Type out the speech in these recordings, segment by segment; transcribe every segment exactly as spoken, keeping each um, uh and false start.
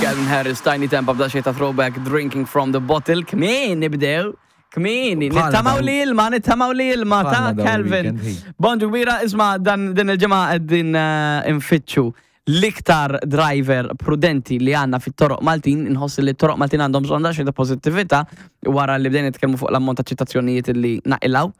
Calvin Harris, Tinie Tempah b'daqsxejn ta' throwback, "Drinking from the Bottle". Kmieni nibdew. Kmieni, Bħalna nittamaw dawn- li ilma, nittamaw li ilma ta' Bħalna dawn Calvin. il-weekend, hi. Bonġu kbira, isma' dan din il-ġimgħa qegħdin eh, infittxu l-iktar driver prudenti li għandna fit-toroq Maltin. Inħoss li t-toroq Maltin għandhom bżonn daqsxejn ta' pozittività wara li bdejna nitkellmu fuq l-ammont ta' ċitazzjonijiet li naqilgħu,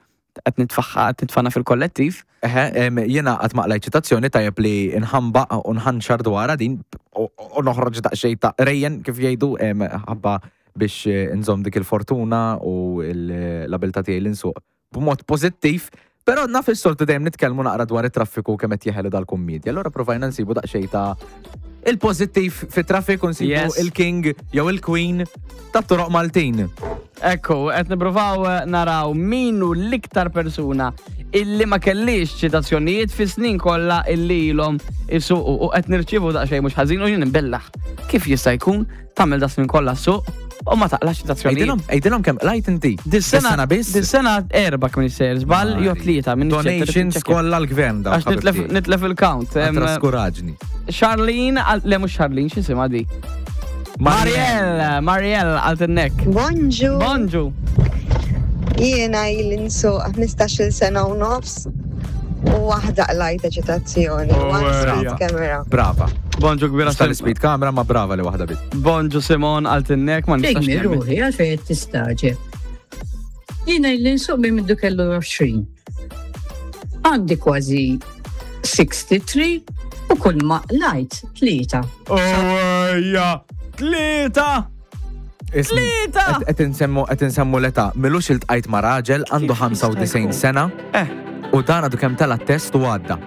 qed nitfaħħa qed nitfana fil-kollettiv. Eħe, em, jiena qatt ma qlajt ċitazzjoni, tajjeb li nħamba u nħanxar dwarha din u u noħroġ daqsxejn ta' rejjen kif jgħidu em, ħabba biex eh, nżomm dik il-fortuna u l- l-abilità tiegħi li nsuq b'mod pożittiv. Però naf is-soltu dejjem nitkellmu naqra dwar it-traffiku, kemm qed jeħelu dal-kummedja. Allura provajna nsibu daqsxejn ta' il-pożittiv fit-traffiku, nsibu Yes. il-king jew il-queen tat-toroq Maltin. Ekku, qed nippruvaw eh, naraw minu l-iktar persuna illi ma kellix ċitazzjonijiet fi snin kollha illi ilhom isuqu u qed nirċievu daqsxejn mhux ħażin u jien nbellaħ. Kif jista' jkun tagħmel da snin kollha suq u ma taqlax ċitazzjonijiet? Għidilhom, għidilhom kemm qlajt inti. Dis-sena Dis-sena biss? Dis-sena erba' kien sejjer żball jew tlieta minn Donations kollha l-gvern da. Għax nitlef nitlef il-count. Em, Traskuraġni. Charlene, għal- le mhux Charlene, x'isimha di? Marielle, Marielle għalt-nek. Bonġu. Bonġu. Jiena ili nsuq ħmistax-il sena u nofs u waħda qlajta ċitazzjoni. Oh, One speed ejja. camera. Brava. Bonġu kbira. Tal speed camera, ma brava li waħda bit. Bonġu Simon għalt-nek, ma nistax Fejn nemmen. Ruħi, għalfejn qed tistagħġeb? Jiena ili nsuq minn mindu kellu għoxrin. Għandi kważi sitta u sittin u kull ma qlajt tlieta. Ejja, tlieta! Tlieta! Qed insemmu qed insemmu l-età. M'ilux iltqajt ma' raġel għandu Kif jista' ħamsa u disgħin jkun? sena Eh, u dan għadu kemm tela test u għadda.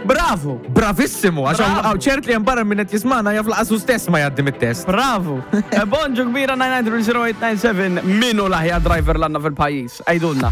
Bravo! Bravissimu, għax Bravo. hawn ċert li hemm barra minn qed jismana jaf lanqas hu stess ma jgħaddi mit-test. Bravo! Eh, Bonġu kbira, nine nine zero eight nine seven, minu l-aħjar driver l għandna fil-pajjiż? Għidulna.